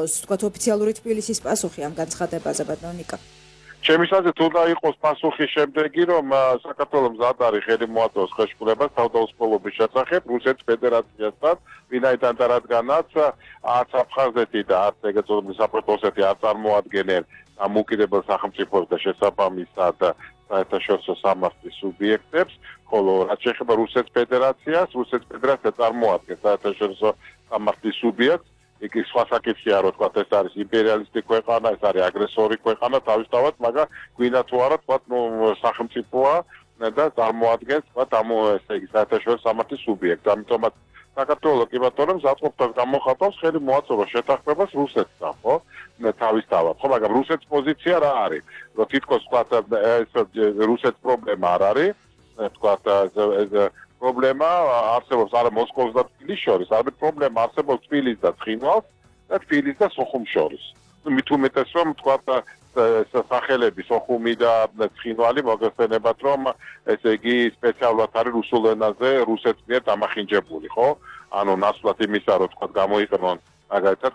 იყოს, თქვათ ოფიციალური თბილისის პასუხი ამ განცხადებაზე, ბატონო ნიკა? ჩემის აზრით უნდა იყოს პასუხი შემდეგი, რომ საქართველოს მზად არის ხელი მოაწოდოს ხელშეკრულებას თავდაუსრულობის შესახებ რუსეთის ფედერაციასთან, ვინაიდან და რადგანაც არც აფხაზეთი და არც ეგრეთ წოდებული სამხრეთ ოსეთი არ წარმოადგენენ დამოუკიდებელ სახელმწიფოს და შესაბამისად საერთაშორისო სამართლის სუბიექტებს, ხოლო რაც შეეხება რუსეთის ფედერაციას, რუსეთის ფედერაცია წარმოადგენს საერთაშორისო სამართლის სუბიექტს. იქ სხვა საკითხია, რომ თქვა ეს არის იმპერიალისტი ქვეყანა, ეს არის აგრესორი ქვეყანა თავისთავად, მაგრამ გვინდა თუ არა თქვა სახელმწიფოა და წარმოადგენს თქვა ესე იგი საერთაშორისო სამართლის სუბიექტს. ამიტომაც საქართველოს კი ბატონო მზადყოფას გამოხატავს ხელი მოაწოდოს შეთანხმებას რუსეთთან, ხო? თავისთავად, ხო, მაგრამ რუსეთის პოზიცია რა არის? რომ თითქოს თქვა რუსეთის პრობლემა არ არის, თქვა პრობლემა არსებობს არა მოსკოვს და თბილისს შორის, არამედ პრობლემა არსებობს თბილისს და ცხინვალს და თბილისს და სოხუმს შორის. მით უმეტეს რომ თქვა სახელები სოხუმი და ცხინვალი მოგეხსენებათ რომ ესე იგი სპეციალურად არის რუსულ ენაზე რუსეთის მიერ დამახინჯებული, ხო? ანუ ნაცვლად იმისა რომ თქვა გამოიყენონ მაგალითად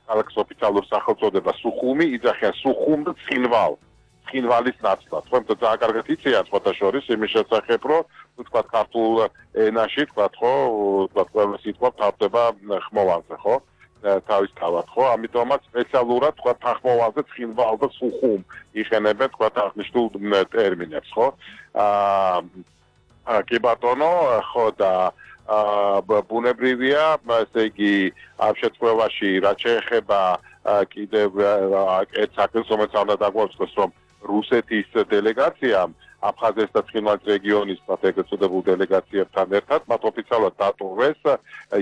ქალაქის ოფიციალური სახელწოდება სუხუმი, იძახიან სუხუმ და ცხინვალ. ცხინვალის ნაცვლად, ხო? იმიტომ ძალიან კარგად იციან სხვათა შორის იმის შესახებ, რომ თქვა ქართულ ენაში თქვა ხო, თქვა ყველა სიტყვა თავდება ხმოვანზე, ხო? თავისთავად, ხო? ამიტომაც სპეციალურად თქვა ხმოვანზე ცხინვალ და სუხუმ იხენებენ თქვა აღნიშნულ ტერმინებს, ხო? კი ბატონო, ხო და ბუნებრივია, ესე იგი ამ შემთხვევაში რაც შეეხება კიდევ ერთ საკითხს, რომელიც უნდა დაგვაცხოს, რომ რუსეთის დელეგაციამ აფხაზეთის და ცხინვალის რეგიონის ეგრეთ წოდებულ დელეგაციებთან ერთად მათ ოფიციალურად დატოვეს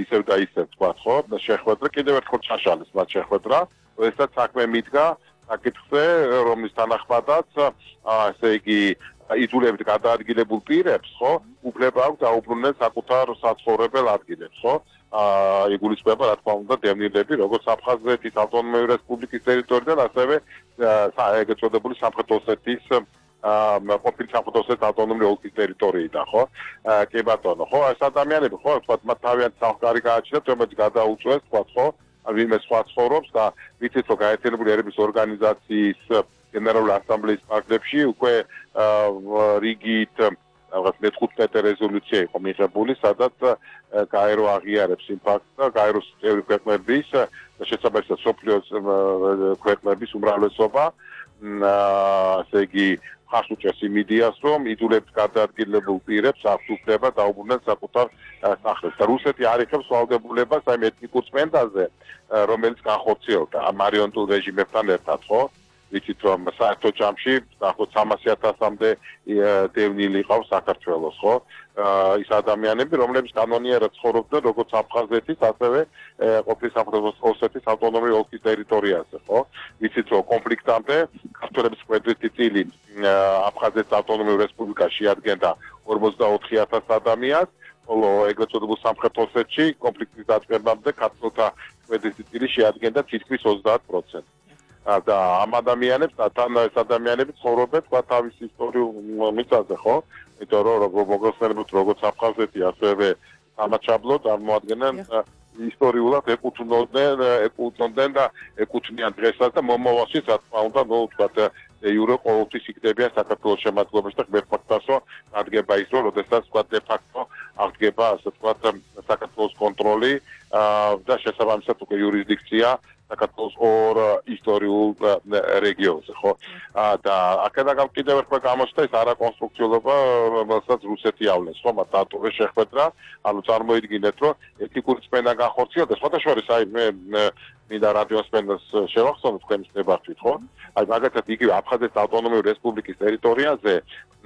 ისევ და ისევ თქვა ხო შეხვედრა კიდევ ერთხელ ჩაშალეს მათ შეხვედრა როდესაც საქმე მიდგა საკითხზე რომლის თანახმადაც ესე იგი იზოლებით გადაადგილებულ პირებს ხო უფლება აქვს დაუბრუნდნენ საკუთარ საცხოვრებელ ადგილებს ხო იგულისხმება რა თქმა უნდა დევნილები როგორც აფხაზეთის ავტონომიური რესპუბლიკის ტერიტორიიდან ასევე ეგრეთ წოდებული სამხრეთ ოსეთის ყოფილი სამხრეთ ოსეთის ავტონომიური ოლქის ტერიტორიიდან ხო კი ბატონო ხო ეს ადამიანები ხო თქვა მათ თავიანთი სამყარო გააჩნიათ რომელიც გადაუწვეს თქვა ხო ვინმე სხვა ცხოვრობს და ვიცით რომ გაერთიანებული ერების ორგანიზაციის გენერალური ასამბლეის პარლამენტში უკვე რიგით რაღაც მე-15 რეზოლუცია იყო მიღებული, სადაც გაერო აღიარებს იმ ფაქტს და გაეროს წევრი ქვეყნების და შესაბამისად სოფლიოს ქვეყნების უმრავლესობა ასე იგი ხარს უჭერს იმ იდეას, რომ იდულებით გადაადგილებულ პირებს აქვს უფლება დაუბრუნდნენ საკუთარ სახლებს. და რუსეთი არ იღებს ვალდებულებას აი ეთნიკურ წმენდაზე, რომელიც განხორციელდა მარიონეტულ რეჟიმებთან ერთად, ხო? ვიცით რომ საერთო ჯამში დაახლოებით 300,000-მდე დევნილი ყავს საქართველოს, ხო? ის ადამიანები, რომლებიც კანონიერად ცხოვრობდნენ როგორც აფხაზეთის, ასევე ყოფილი სამხრეთ ოსეთის ავტონომიური ოლქის ტერიტორიაზე, ხო? ვიცით რომ კონფლიქტამდე ქართველების კვედრითი წილი აფხაზეთის ავტონომიური რესპუბლიკაში ადგენდა 44,000 ადამიანს, ხოლო ეგრეთ წოდებულ სამხრეთ ოსეთში კონფლიქტის დაწყებამდე ქართველთა კვედრითი წილი შეადგენდა თითქმის 30%. და ამ ადამიანებს თან ეს ადამიანები ცხოვრობენ თქვა თავის ისტორიულ მიწაზე ხო? იმიტომ რომ მოგხსენებთ როგორც აფხაზეთი ასევე სამაჩაბლო წარმოადგენენ ისტორიულად ეკუთვნოდნენ და ეკუთვნიან დღესაც და მომავალშიც რა თქმა უნდა ნუ თქვა იურო ყოველთვის იქნებიან საქართველოს შემადგენლობაში და მერფაქტასო ადგება ის რომ როდესაც თქვა დე ფაქტო აღდგება ასე თქვა საქართველოს კონტროლი და შესაბამისად უკვე იურისდიქცია საქართველოს ორ ისტორიულ რეგიონზე, ხო? და აქედან კიდევ ერთხელ გამოჩნდა ეს არაკონსტრუქციულობა, რომელსაც რუსეთი ავლენს, ხო? მათ დატოვეს შეხვედრა, ანუ წარმოიდგინეთ, რომ ეთნიკური წმენდა განხორციელდა, სხვათა შორის აი მე მინდა რადიოსმენას შევახსენო თქვენს დებართვით, ხო? აი მაგალითად იგივე აფხაზეთის ავტონომიური რესპუბლიკის ტერიტორიაზე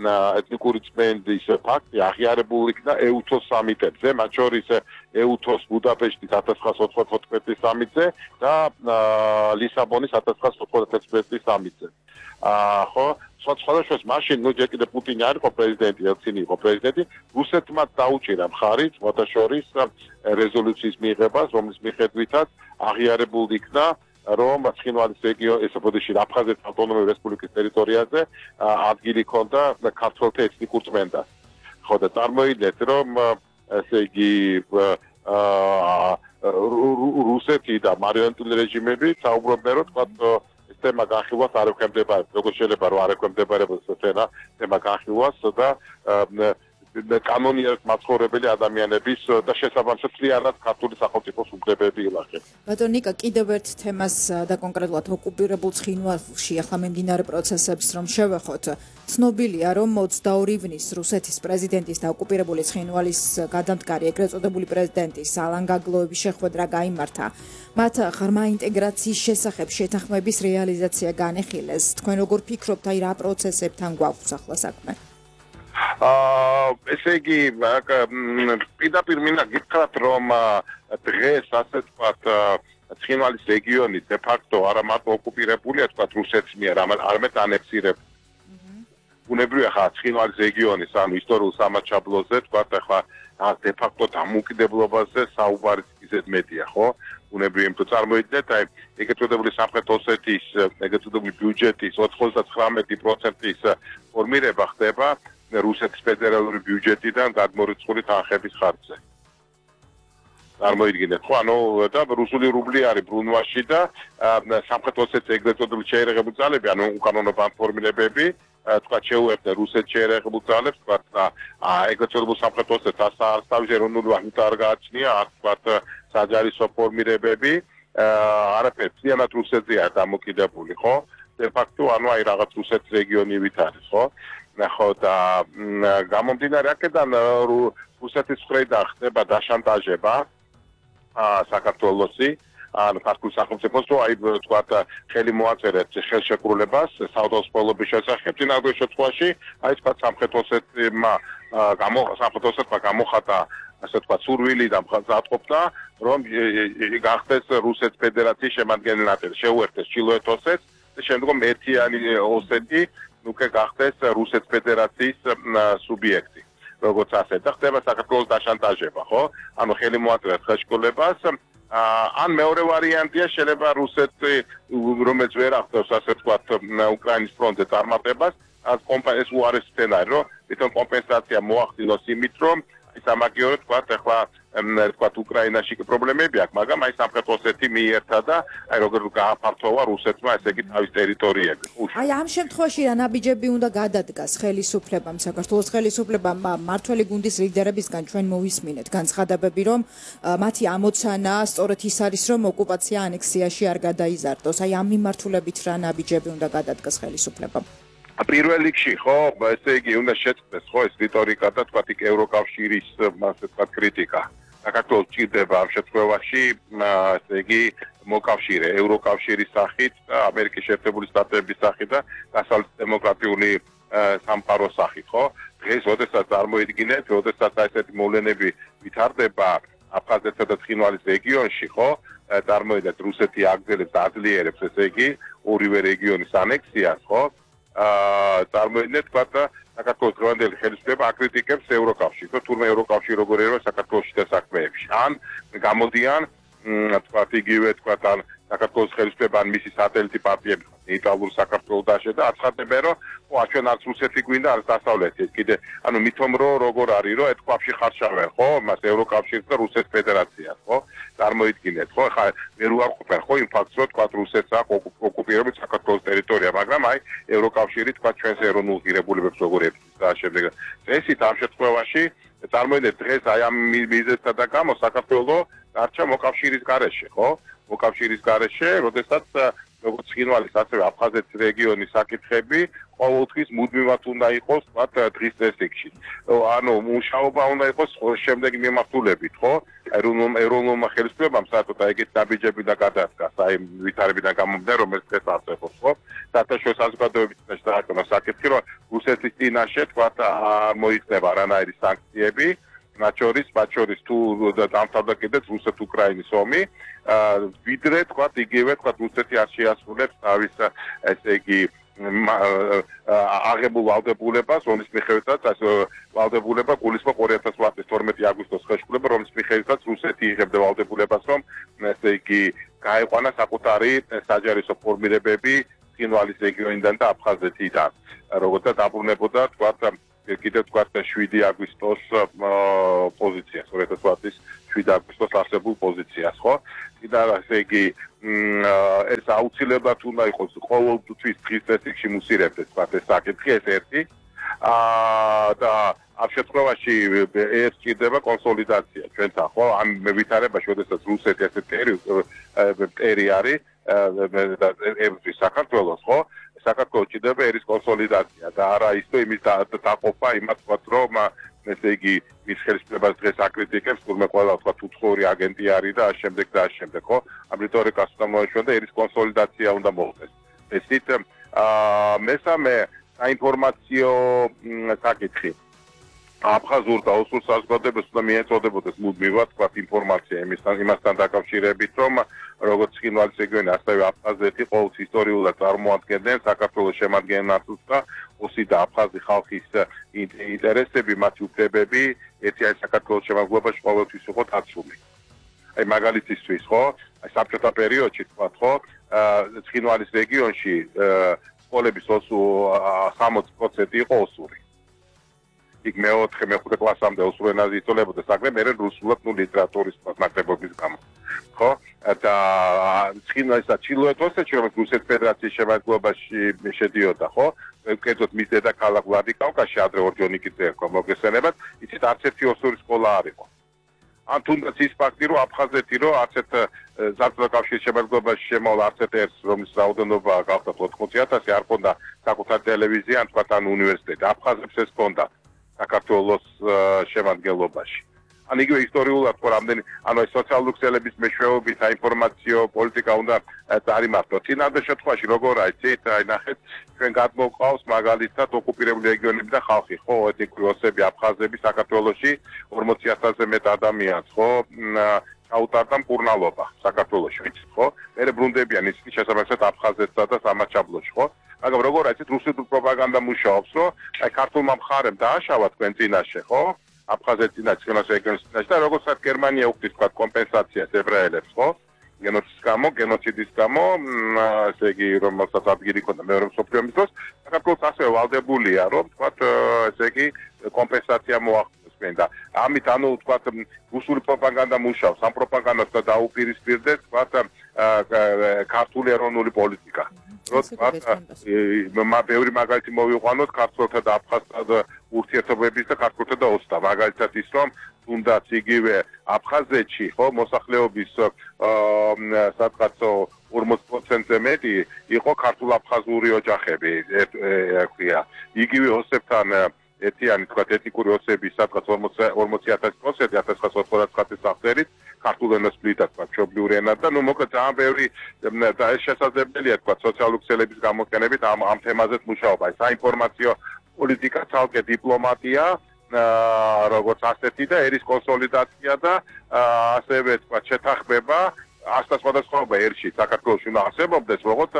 ეთნიკური წმენდის ფაქტი აღიარებულ იქნა ეუთოს სამიტებზე, მათ შორის ეუთოს ბუდაპეშტის 1994 სამიტზე და ლისაბონის 1991 სამიტზე. ხო, სხვადასხვა მაშინ ნუ ჯერ კიდევ პუტინი არ იყო პრეზიდენტი, ელცინი იყო პრეზიდენტი, რუსეთმა დაუჭირა მხარი სხვათა შორის რეზოლუციის მიღებას, რომლის მიხედვითაც აღიარებულ იქნა რომ ცხინვალის რეგიონი ეს ოპოზიციაში აფხაზეთის ავტონომიური რესპუბლიკის ტერიტორიაზე ადგილი ჰქონდა ქართველთა ეთნიკურ წმენდას. ხო და წარმოიდგინეთ რომ ესე იგი რუსეთი და მარიონეტული რეჟიმები საუბრობდნენ, რომ თქვა ეს თემა განხილვას არ ექვემდებარება, როგორც შეიძლება რომ არ ექვემდებარებოდეს თემა განხილვას და კანონიერად მაცხოვრებელი ადამიანების და შესაბამისად მთლიანად ქართული სახელმწიფოს უფლებები ილახება. ბატონო ნიკა, კიდევ ერთ თემას და კონკრეტულად ოკუპირებულ ცხინვალში ახლა მიმდინარე პროცესებს რომ შევეხოთ, ცნობილია რომ 22 ივნის რუსეთის პრეზიდენტის და ოკუპირებული ცხინვალის გადამდგარი ეგრეთ წოდებული პრეზიდენტის ალან გაგლოევის შეხვედრა გაიმართა. მათ ღრმა ინტეგრაციის შესახებ შეთანხმების რეალიზაცია განეხილეს. თქვენ როგორ ფიქრობთ, აი რა პროცესებთან გვაქვს ახლა საქმე? ესე იგი პირდაპირ მინდა გითხრათ რომ დღეს ასე ვთქვათ ცხინვალის რეგიონი de facto არა მარტო ოკუპირებულია თქვათ რუსეთის მიერ, არამედ ანექსირებული. ბუნებრივია ხა ცხინვალის რეგიონის ანუ ისტორიულ სამაჩაბლოზე თქვათ ახლა de facto დამოუკიდებლობაზე საუბარი ისეთ მეტია, ხო? ბუნებრივია, იმიტომ წარმოიდგინეთ, აი ეგრეთ წოდებული სამხრეთ ოსეთის ეგრეთ წოდებული ბიუჯეტის 99%-ის ფორმირება ხდება რუსეთის ფედერალური ბიუჯეტიდან გადმორიცხული თანხების ხარჯზე. წარმოიდგინეთ, ხო, ანუ და რუსული რუბლი არის ბრუნვაში და სამხრეთ ოსეთის ეგრეთ წოდებული შეერაღებული ძალები, ანუ უკანონო ბანკფორმირებები, თქვა შეუერთდა რუსეთს შეერაღებულ ძალებს, თქვა ეგრეთ წოდებულ სამხრეთ ოსეთს ასთავის ეროვნული ვალუტა არ გააჩნია, თქვა საჯარისო ფორმირებები, არაფერი მთლიანად რუსეთზეა დამოკიდებული, ხო? de facto ანუ აი რაღაც რუსეთის რეგიონივით არის, ხო? ხო და გამომდინარე აქედან რუსეთის მხრიდან ხდება დაშანტაჟება საქართველოსი ან ქართულ სახელმწიფოს რომ აი თქვათ ხელი მოაწერეთ ხელშეკრულებას საავტომობილო სპოლობის შესახებ წინააღმდეგ შემთხვევაში აი თქვათ სამხრეთ ოსეთმა გამოხატა ასე თქვათ სურვილი და მზადყოფნა რომ გახდეს რუსეთის ფედერაციის შემადგენელი ნაწილი შეუერთდეს ჩრდილოეთ ოსეთს და შემდგომ ერთიანი ოსეთი ნუკე გახდეს რუსეთის ფედერაციის სუბიექტი. როგორც ასე და ხდება საქართველოს დაშანტაჟება, ხო? ანუ ხელი მოაწერეთ ხელშეკრულებას. ან მეორე ვარიანტია შეიძლება რუსეთი რომელიც ვერ ახდენს ასე ვთქვათ უკრაინის ფრონტზე წარმატებას, კომპანიის უარეს სცენარი, რომ თვითონ კომპენსაცია მოახდინოს იმით, რომ სამაგიეროდ ვთქვათ ახლა ვთქვათ უკრაინაში პრობლემები აქვს, მაგრამ აი სამხრეთ ოსეთი მიიერთა და აი როგორ გააფართოვა რუსეთმა ესე იგი თავის ტერიტორიები. აი ამ შემთხვევაში რა ნაბიჯები უნდა გადადგას ხელისუფლებამ, საქართველოს ხელისუფლებამ მართველი გუნდის ლიდერებისგან ჩვენ მოვისმინეთ განცხადებები, რომ მათი ამოცანა სწორედ ის არის, რომ ოკუპაცია ანექსიაში არ გადაიზარდოს. აი ამ მიმართულებით რა ნაბიჯები უნდა გადადგას ხელისუფლებამ? პირველ რიგში ხო, ესე იგი უნდა შეწყდეს ხო ეს რიტორიკა და თქვათ იქ ევროკავშირის ასე თქვათ კრიტიკა. საქართველოს ჭირდება ამ შემთხვევაში ესე იგი მოკავშირე ევროკავშირის სახით და ამერიკის შეერთებული შტატების სახით და დასავლეთ დემოკრატიული სამყაროს სახით, ხო? დღეს როდესაც წარმოიდგინეთ, როდესაც ესეთი მოვლენები ვითარდება აფხაზეთსა და ცხინვალის რეგიონში, ხო? წარმოიდგინეთ რუსეთი აგრძელებს და აძლიერებს ესე იგი ორივე რეგიონის ანექსიას, ხო? წარმოიდგინეთ თქვა და საქართველოს დღევანდელი ხელისუფლება აკრიტიკებს ევროკავშირს, თურმე ევროკავშირი როგორ ერევა საქართველოსში და საქმეებში. ან გამოდიან თქვა იგივე თქვა ან საქართველოს ხელისუფლება ან მისი სატელიტი პარტიები ნეიტრალური საქართველოს დაშე და აცხადებენ რომ ჩვენ არც რუსეთი გვინდა არც დასავლეთი კიდე ანუ მithom რომ როგორ არის რომ ეთქვაფში ხარშავენ ხო მას ევროკავშირს და რუსეთის ფედერაციას ხო წარმოიდგინეთ ხო ხა ვერ უარყოფენ ხო იმ ფაქტს რომ თქვა რუსეთს აქვს ოკუპირებული საქართველოს ტერიტორია მაგრამ აი ევროკავშირი თქვა ჩვენს ეროვნულ ღირებულებებს როგორ ებრძვის და შემდეგ ესეთ ამ შემთხვევაში წარმოიდგინეთ დღეს აი ამ მიზეზთა და გამო საქართველოს არჩა მოკავშირის გარეშე ხო მოკავშირის გარეშე როდესაც როგორც ცხინვალის ასევე აფხაზეთის რეგიონის საკითხები ყოველთვის მუდმივად უნდა იყოს მათ დღის წესრიგში. ანუ მუშაობა უნდა იყოს შემდეგი მიმართულებით, ხო? ეროვნულმა ხელისუფლებამ საერთოდ ეგეთი ნაბიჯები და გადადგას, აი ვითარებიდან გამომდინარე, რომელიც დღეს არსებობს, ხო? საერთაშორისო საზოგადოების წინაშე დააკონა საკითხი, რომ რუსეთის წინაშე თქვა მოიხდება რანაირი სანქციები. მათ შორის თუ დამთავრდა კიდეც რუსეთ-უკრაინის ომი, ვიდრე თქვა იგივე თქვა რუსეთი არ შეასრულებს თავის ესე იგი აღებულ ვალდებულებას, რომლის მიხედვითაც ვალდებულება გულისხმობს 2008 წლის 12 აგვისტოს ხელშეკრულება, რომლის მიხედვითაც რუსეთი იღებდა ვალდებულებას, რომ ესე იგი გაეყვანა საკუთარი საჯარისო ფორმირებები ცხინვალის რეგიონიდან და აფხაზეთიდან, როგორც დაბრუნებოდა თქვა კიდევ თქვა 7 აგვისტოს პოზიცია 2008 წლის მშვიდ აგვისტოს არსებულ პოზიციას, ხო? და ესე იგი ეს აუცილებლად უნდა იყოს ყოველთვის დღის წესრიგში მუსირებდეს, თქვა ეს საკითხი, ეს ერთი. და ამ შემთხვევაში ეს ჭირდება კონსოლიდაცია ჩვენთან, ხო? ამ ვითარებაში, როდესაც რუსეთი ესე ტერი არის ებრძვის საქართველოს, ხო? საქართველოს ჭირდება ერის კონსოლიდაცია და არა ისე იმის დაყოფა იმას ვთქვათ, რომ ესე იგი მის ხელისუფლებას დღეს აკრიტიკებს, თურმე ყველა ვთქვათ უცხოური აგენტი არის და ამავდროულად და ამავდროულად, ხო? ამ რიტორიკას უნდა მოეშვენ და ერის კონსოლიდაცია უნდა მოხდეს. ესით მესამე საინფორმაციო საკითხი. აფხაზურ და ოსურ საზოგადოებას უნდა მიეწოდებოდეს მუდმივად თქვათ ინფორმაცია იმასთან დაკავშირებით, რომ როგორც ცხინვალის რეგიონი, ასევე აფხაზეთი ყოველთვის ისტორიულად წარმოადგენდნენ საქართველოს შემადგენლობას და ოსი და აფხაზი ხალხის ინტერესები, მათი უფლებები ერთიანი საქართველოს შემადგენლობაში ყოველთვის იყო დაცული. აი მაგალითისთვის, ხო? აი საბჭოთა პერიოდში თქვათ, ხო? ცხინვალის რეგიონში სკოლების 60% იყო ოსური. იქ მე-4 კლასამდე ოსურ ენაზე იწოლებოდა საქმე, მე რუსულად ლიტერატურის ნაკლებობის გამო. ხო? და ცხინვალის და ჩილოეთ ოსეთში, რომელიც რუსეთის ფედერაციის შემადგენლობაში შედიოდა, ხო? კერძოდ მის დედაქალაქ ვლადიკავკაზში ადრე ორჯონიკიძე ერქვა მოგესალმებათ, იცით არც ერთი ოსური სკოლა არ იყო. ან თუნდაც ის ფაქტი, რომ აფხაზეთი რომ არც ერთ საბჭოთა კავშირის შემადგენლობაში შემოვლა არც ერთ რომლის რაოდენობა გახდა 80,000, არ ჰქონდა საკუთარი ტელევიზია, ან თქვა თან უნივერსიტეტი. აფხაზებს ეს ჰქონდა საქართველოს შემადგენლობაში. ან იგივე ისტორიულად ხო რამდენი ანუ ეს სოციალური ქსელების მეშვეობით საინფორმაციო პოლიტიკა უნდა წარიმართო. წინადე შემთხვევაში როგორ აიცით, აი ნახეთ, ჩვენ გადმოყავს მაგალითად ოკუპირებული რეგიონები და ხალხი, ხო, ეთნიკური ოსები, აფხაზები საქართველოში 40,000-ზე მეტ ადამიანს, ხო, ჩაუტარდა მკურნალობა საქართველოში, ვიცით, ხო? მე ბრუნდებიან ისინი შესაბამისად აფხაზეთსა და სამაჩაბლოში, ხო? მაგრამ როგორ აიცით, რუსული პროპაგანდა მუშაობს, რომ აი ქართულმა მხარემ დააშავა თქვენ წინაშე, ხო? აფხაზეთის წინაშე, ცხინვალის რეგიონის წინაშე და როგორცაც გერმანია უხდის თქვა კომპენსაციას ებრაელებს, ხო? გენოციდის გამო, ესე იგი, რომელსაც ადგილი ჰქონდა მეორე მსოფლიო ომის დროს, საქართველოს ასევე ვალდებულია, რომ თქვა, ესე იგი, კომპენსაცია მოახდინოს თქვენ და ამით ანუ თქვა რუსული პროპაგანდა მუშაობს, ამ პროპაგანდას და დაუპირისპირდეს, თქვა, ქართული ეროვნული პოლიტიკა. ბევრი მაგალითი მოვიყვანოთ ქართველთა და აფხაზთა ურთიერთობების და ქართველთა და ოსთა. მაგალითად ის, რომ თუნდაც იგივე აფხაზეთში, ხო, მოსახლეობის სადღაც 40%-ზე მეტი იყო ქართულ-აფხაზური ოჯახები, ქვია. იგივე ოსებთან ერთიანი, თქვა, ეთნიკური ოსები სადღაც 40,000% 1999 წელს ქართულ ენას ფლიდა, თქვა, მშობლიური ენა და ნუ მოკლედ ძალიან ბევრი და ეს შესაძლებელია, თქვა, სოციალური ქსელების გამოყენებით ამ თემაზეც მუშაობა. საინფორმაციო პოლიტიკა, ცალკე დიპლომატია, როგორც ასეთი და ერის კონსოლიდაცია და ასევე, თქვა, შეთანხმება, სხვადასხვაობა ერში საქართველოში უნდა არსებობდეს, როგორც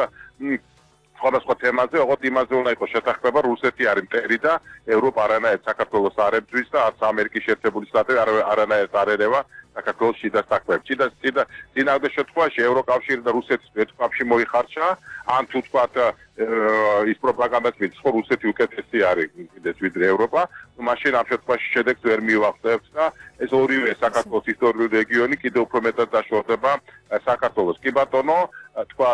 სხვადასხვა თემაზე, ოღონდ იმაზე უნდა იყოს შეთანხმება, რუსეთი არის მტერი და ევროპა არანაირად საქართველოს არ ებრძვის და არც ამერიკის შეერთებული შტატები არანაირად არ ერევა საქართველოს შიდა საქმეებს. წინააღმდეგ შემთხვევაში ევროკავშირი და რუსეთის ეთნიკაში მოიხარშა, ან თუ თქვა ის პროპაგანდაც მის ხო რუსეთი უკეთესი არის კიდეც ვიდრე ევროპა, მაშინ ამ შემთხვევაში შედეგს ვერ მივახცევთ და ეს ორივე საქართველოს ისტორიული რეგიონი კიდევ უფრო მეტად დაშორდება საქართველოს. კი ბატონო, თქვა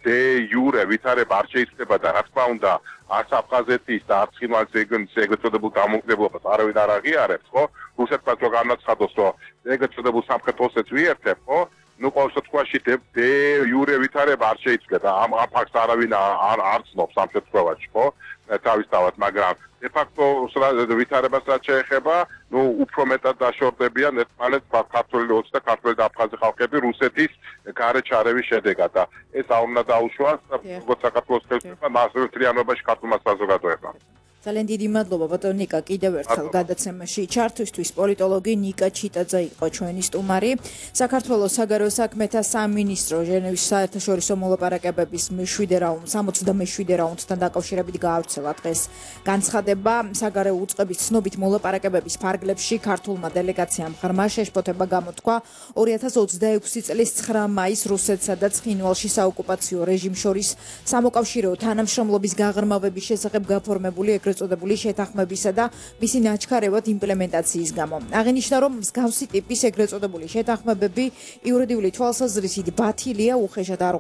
დე იურე ვითარება არ შეიძლება და რა თქმა უნდა არც აფხაზეთის და არც ცხინვალის რეგიონის ეგრეთ წოდებულ დამოუკიდებლობას არავინ არ აღიარებს, ხო? რუსეთსაც რო განაცხადოს, რომ ეგრეთ წოდებულ სამხრეთ ოსეთს ვიერთებ, ხო? ნუ ყოველ შემთხვევაში დე იურე ვითარება არ შეიძლება. ამ ფაქტს არავინ არ ცნობს ამ შემთხვევაში, ხო? თავისთავად, მაგრამ de facto ვითარებას რაც შეეხება, ნუ უფრო მეტად დაშორდებიან ერთმანეთს ქართველი ოცი და ქართველი და აფხაზი ხალხები რუსეთის გარეშე ჩარევის შედეგად და ეს არ უნდა დაუშვას როგორც საქართველოს ხელისუფლებამ, ასევე მთლიანობაში ქართულმა საზოგადოებამ. ძალიან დიდი მადლობა ბატონო ნიკა, კიდევ ერთხელ გადაცემაში ჩართვისთვის. პოლიტოლოგი ნიკა ჩიტაძე იყო ჩვენი სტუმარი. საქართველოს საგარეო საქმეთა სამინისტრო ჟენევის საერთაშორისო მოლაპარაკებების 67 რაუნდთან დაკავშირებით გაავრცელა დღეს განცხადება. საგარეო უწყების ცნობით მოლაპარაკებების ფარგლებში ქართულმა დელეგაციამ ღრმა შეშფოთება გამოთქვა 2026 წლის 9 მაისს რუსეთსა და ცხინვალში საოკუპაციო რეჟიმს შორის სამოკავშირეო თანამშრომლობის გაღრმავების შესახებ გაფორმებული ეგრეთ წოდებული შეთანხმებისა და მისი ნაჩქარევად იმპლემენტაციის გამო. აღინიშნა, რომ მსგავსი ტიპის ეგრეთ წოდებული შეთანხმებები იურიდიული თვალსაზრისით ბათილია, უხეშად არ